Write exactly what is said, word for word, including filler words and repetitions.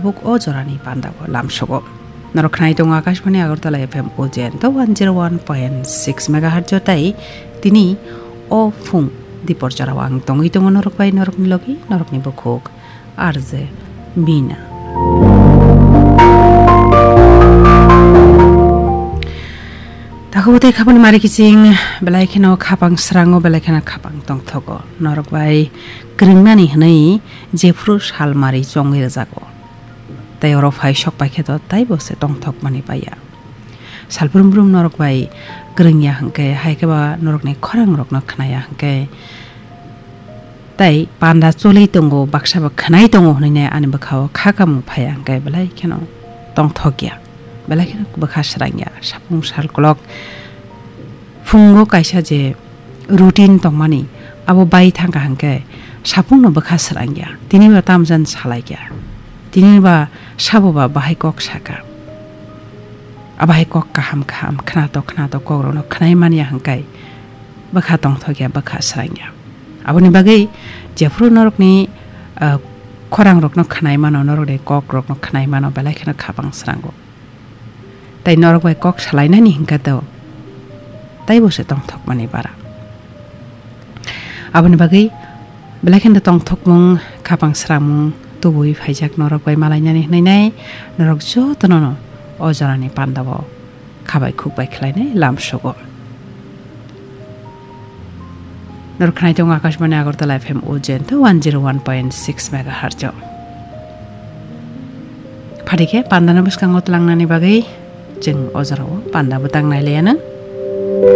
Buk o jorani pandao lamsogo. Norok khnai tongo Akashbani Agartala F M Ujjain to one zero one point six megahertz o tai tini o phung dipor jorao ang tongwi tongo norok bai, norokni logi, norokni bukhuk R J Mina. Takhuk tei khapang mari kiching belai kheno khapang srango, belai kheno khapang tongthogo. Norok bai kwrwngnani hwnwi jephru salmari chongwi rwjago. Tei oro phai sok pai khe to taibo se tongthokmani paiya. Salbrum brum norok bai kwrwngya hwnkhe, hai khe ba norokni khorangrokno khnaya hwnkhe, tei panda choli tongo, baksa ba khnai tongo hwnwi ani bwkhao kha kamung phaiya hwnkhe belai kheno tongthokya, belai kheno bwkha srangya. Sapung sal kolok phungo kaisa je routine tongmani, abo bai thangkha hwnkhe sapungno bwkha srangya, tini ba tamjan salaikya, tini ba sabo ba bahai kok saka. Abahai kok kaham kaham khnato khnato kokrokno khnai manya hwnkhe bwkha tongthokya, bwkha srangya. Aboni bagwi jephru norokni, ah, khorangrokno khnai mano, norokni kokrokno khnai mano, belai kheno khapang srango. Tei norok bai kok salainani hwnkhe to taibo se tongthokmani bara. Aboni bagwi belai kheno tongthokmung, khapang sramung tubui phaijak norok bai malainani hwnwi nai, norok jotono no o jorani pandao khabai khukbai khlainai lamsogo. Norok khnai tongo Akashbani Agartala F M Ujjain to one zero one point six megahertz o. Phadi khe pandano bwskango tlangnani bagwi chwng o jorao panda bwtang nai laiya nang.